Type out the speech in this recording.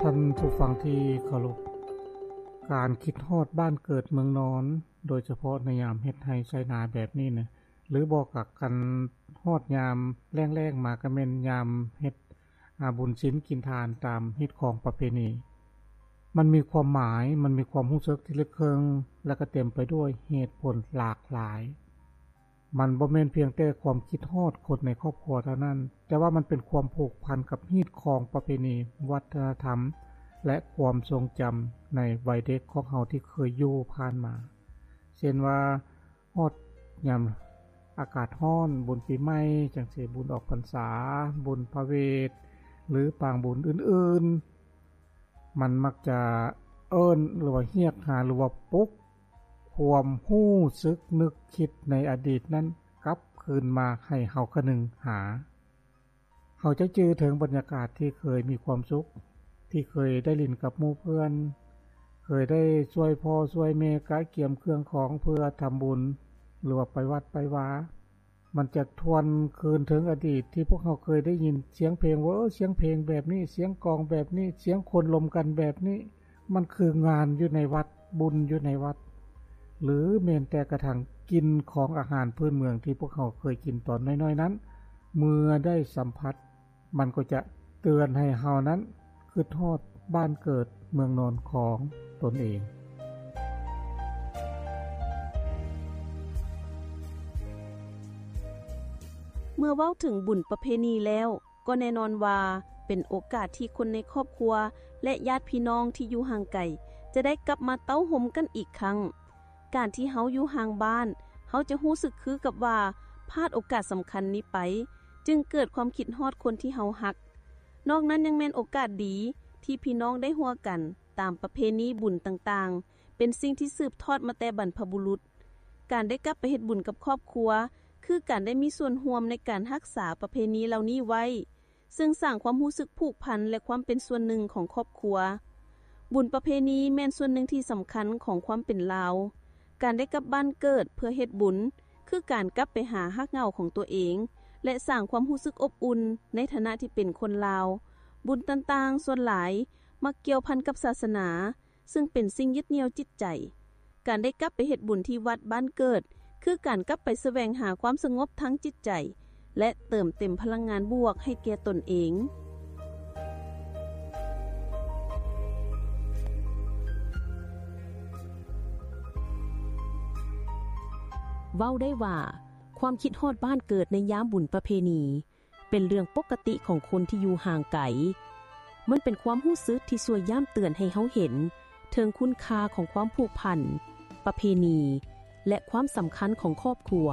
ທ່ານຜູ້ຟັງທີ່ເຄົາລົບ, ການຄິດຮອດບ້ານເກີດເມືອງນອນ ໂດຍສະເພາະໃນຍາມເຮັດໄຮ່ໄຖນາແບບນີ້ນະ ຫຼືບໍ່ກໍຄັນຮອດຍາມແລ້ງໆມາ ກໍແມ່ນຍາມເຮັດ ອາ ບຸນສິນກິນທານຕາມຮີດຄອງປະເພນີ. ມັນມີຄວາມໝາຍ, ມັນມີຄວາມຮູ້ສຶກທີ່ເລິກເຊິ່ງ ແລະກໍເຕັມໄປດ້ວຍເຫດຜົນຫຼາກຫຼາຍ. ມັນບໍ່ແມ່ນພຽງແຕ່ຄວາມຄິດຮອດຄົນໃນຄອບຄົວເທົ່ານັ້ນ, ແຕ່ວ່າມັນເປັນຄວາມຜູກພັນກັບຮີດຄອງປະເພນີ, ວັດທະນະທຳ ແລະ ຄວາມຊົງຈຳໃນໄວເດັກຂອງເຮົາທີ່ເຄີຍຢູ່ຜ່ານມາ. ເຊັ່ນວ່າ ຮອດຍາມອາກາດຮ້ອນ, ບຸນປີໃໝ່, ຈັ່ງຊີ້ ບຸນອອກພັນສາ, ບຸນພະເວດ ຫຼື ປາງບຸນອື່ນໆ, ມັນມັກຈະເອີ້ນ ຫຼືວ່າຮຽກຫາ ຫຼືວ່າປຸກຄວາມຮູ້ສຶກນຶກຄິດໃນອະດີດນັ້ນກັບຄືນມາໃຫ້ເຮົາຄະນຶງຫາ. ເຮົາຈະຈື່ເຖິງບັນຍາກາດທີ່ເຄີຍມີຄວາມສຸກ, ທີ່ເຄີຍໄດ້ຫຼິ້ນກັບໝູ່ເພື່ອນ, ເຄີຍໄດ້ຊ່ວຍພໍ່ຊ່ວຍແມ່ກະກຽມເຄື່ອງຂອງເພື່ອທຳບຸນ ຫຼືວ່າໄປວັດໄປວາ. ມັນຈະທວນຄືນເຖິງອະດີດທີ່ພວກເຮົາເຄີຍໄດ້ຍິນສຽງເພງ ເວີ ສຽງເພງແບບນີ້, ສຽງກອງແບບນີ້, ສຽງຄົນລົມກັນແບບນີ້. ມັນຄືງານຢູ່ໃນວັດ, ບຸນຢູ່ໃນວັດ ຫຼືແມ່ນແຕ່ກະທັ່ງກິ່ນຂອງອາຫານພື້ນເມືອງທີ່ພວກເຮົາເຄີຍກິນຕອນນ້ອຍໆນັ້ນ, ເມື່ອໄດ້ສຳຜັດ ມັນກໍຈະເຕືອນໃຫ້ເຮົານັ້ນຄິດຮອດບ້ານເກີດເມືອງນອນຂອງຕົນເອງ. ເມື່ອເວົ້າເຖິງບຸນປະເພນີແລ້ວ, ກໍແນ່ນອນວ່າເປັນໂອກາດທີ່ຄົນໃນຄອບຄົວ ແລະ ຍາດພີ່ນ້ອງທີ່ຢູ່ຫ່າງໄກ ຈະໄດ້ກັບມາເຕົ້າໂຮມກັນອີກຄັ້ງ. ການທີ່ເຮົາຢູ່ຫ່າງບ້ານ, ເຮົາຈະຮູ້ສຶກຄືກັບວ່າພາດໂອກາດສຳຄັນນີ້ໄປ, ຈຶ່ງເກີດຄວາມຄິດຮອດຄົນທີ່ເຮົາຮັກ. ນອກນັ້ນຍັງແມ່ນໂອກາດດີທີ່ພີ່ນ້ອງໄດ້ຮ່ວມກັນຕາມປະເພນີບຸນຕ່າງໆ, ເປັນສິ່ງທີ່ສືບທອດມາແຕ່ບັນພະບຸລຸດ. ການໄດ້ກັບໄປເຮັດບຸນກັບຄອບຄົວ ຄືການໄດ້ມີສ່ວນຮ່ວມໃນການຮັກສາປະເພນີເຫຼົ່ານີ້ໄວ້, ເຊິ່ງສ້າງຄວາມຮູ້ສຶກຜູກພັນ ແລະ ຄວາມເປັນສ່ວນໜຶ່ງຂອງຄອບຄົວ. ບຸນປະເພນີແມ່ນສ່ວນໜຶ່ງທີ່ສຳຄັນຂອງຄວາມເປັນລາວ. ການໄດ້ກັບບ້ານເກີດເພື່ອເຮັດບຸນ ຄືການກັບໄປຫາຮາກເຫງົ້າຂອງຕົວເອງ ແລະ ສ້າງຄວາມຮູ້ສຶກອົບອຸ່ນໃນຖານະທີ່ເປັນຄົນລາວ. ບຸນຕ່າງໆສ່ວນຫຼາຍມັກກ່ຽວພັນກັບສາສະໜາ, ເຊິ່ງເປັນສິ່ງຍຶດໜ່ຽວຈິດໃຈ. ການໄດ້ກັບໄປເຮັດບຸນທີ່ວັດບ້ານເກີດ ຄືການກັບໄປສະແຫວງຫາຄວາມສະຫງົບທາງຈິດໃຈ ແລະ ເຕີມເຕັມພະລັງງານບວກໃຫ້ແກ່ຕົນເອງ. ເວົ້າໄດ້ວ່າ ຄວາມຄິດຮອດບ້ານເກີດໃນຍາມບຸນປະເພນີ ເປັນເລື່ອງປົກກະຕິຂອງຄົນທີ່ຢູ່ຫ່າງໄກ. ມັນເປັນຄວາມຮູ້ສຶກທີ່ຊ່ວຍຢ້ຳເຕືອນໃຫ້ເຮົາເຫັນເຖິງຄຸນຄ່າຂອງຄວາມຜູກພັນ, ປະເພນີ ແລະ ຄວາມສຳຄັນຂອງຄອບຄົວ.